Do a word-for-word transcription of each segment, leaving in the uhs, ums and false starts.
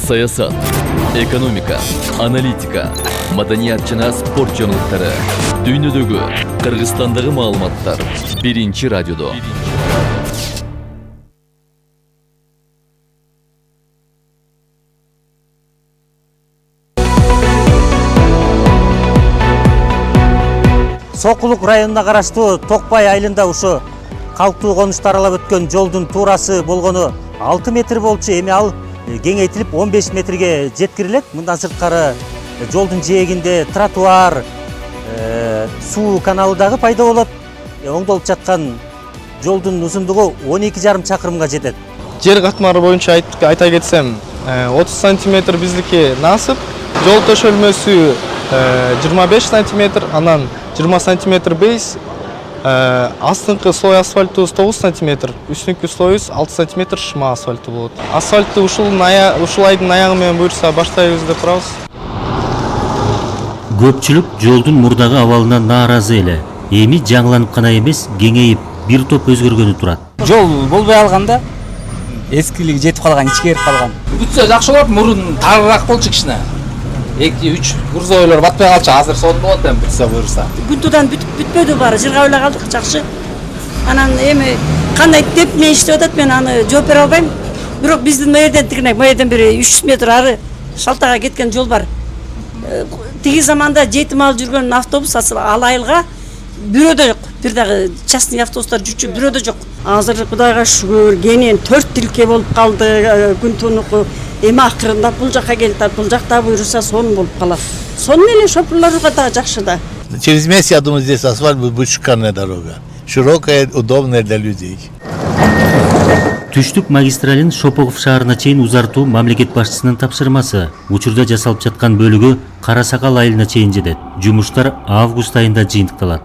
Саясат, экономика, аналитика, маданият жана спорт жаңылыктары. Дүйнөдөгү, Кыргызстандагы маалыматтар биринчи радиодо. Сокулук районуна караштуу Токпай айылында ушу калктуу конушту аралап өткөн жолдун туурасы болгону алты метр болчу. Эми ал кеңейтилип он беш метрге жеткирилет. Мындан сырткары жолдун жээгинде тротуар, суу каналы дагы пайда болот. Оңдолуп жаткан жолдун узундугу он эки жарым чакырымга жетет. Жер катмары боюнча айта кетсем, отуз сантиметр биздики насып, жол төшөлмөсү жыйырма беш сантиметр, анан жыйырма сантиметр бейс, астыңкы слой асфальтыбыз тогуз сантиметр, үстүнкү слоюбуз алты сантиметр шыма асфальты болот. Асфальтты ушул айдын аягы менен буюрса баштайбыз деп турабыз. Көпчүлүк жолдун мурдагы абалынан нааразы эле. Эми жаңыланып гана эмес, кеңейип, бир топ өзгөргөнү турат. Жол болбой алганда эскилиги жетип калган, ичкерип калган. Бүтсө жакшы болот, мурун тарыраак болчу кичине. эки үч грузовойлор батпай калчу, азыр сонун болот эми бүтсө буюрса. Күнтудан бүтпөдү баары, жыргап эле калдык, жакшы. Анан эми кандай деп мен иштеп атат, мен аны жооп бере албайм. Бирок биздин мэрден тигине, мэрден бери үч жүз метр ары шалтага кеткен жол бар. Тиги заманда жетим алып жүргөн автобус ал айылга бирөө да жок. Бир дагы частный автобустар жүрчү бирөө да жок. Азыр Кудайга шүгүр, кенен төрт тилке болуп калды Күнтунуку. Эми акырында бул жака келип, бул жакта буюрса сонун болуп калат. Сонун эле шоферлорго да жакшы да. Через месяц, я думаю, здесь асфальт будет шикарная дорога. Широкая, удобная для людей. Түштүк магистралин Шопогов шаарына чейин узартуу мамлекет башчысынын тапшырмасы. Учурда жасалып жаткан бөлүгү Кара Сакал айылына чейин жетет. Жумуштар август айында жыйынтыкталат.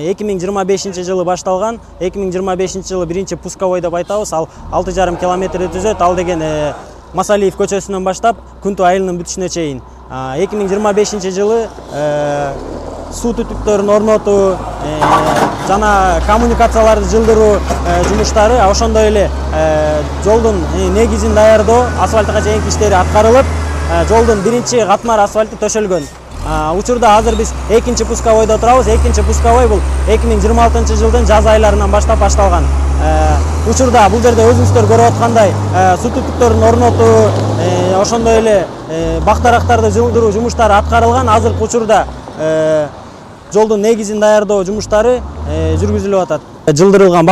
эки миң жыйырма бешинчи жылы башталган, эки миң жыйырма бешинчи жылы биринчи пусковой деп айтабыз. Ал алты жарым километр түзөт. Ал деген Масалиев көчөсүнөн баштап Күнту айылынын бүтүшүнө чейин. эки миң жыйырма бешинчи жылы суу түтүктөрүн орнотуу жана коммуникацияларды жылдыруу жумуштары, ошондой эле жолдун негизин даярдоо, асфальтка чейинки иштери аткарылып, жолдун биринчи катмар асфальты төшөлгөн. Учурда азыр биз экинчи пусковойдо турабыз. Экинчи пусковой бул эки миң жыйырма алтынчы жылдын жаз айларынан баштап башталган. Учурда бул жерде өзүңүздөр көрүп аткандай суу түтүктөрүн орнотуу, ошондой эле бактарактарды жылдыруу жумуштары аткарылган. Азыркы учурда жолдун негизин даярдоо жумуштары жүргүзүлүп атат. Жылдырылган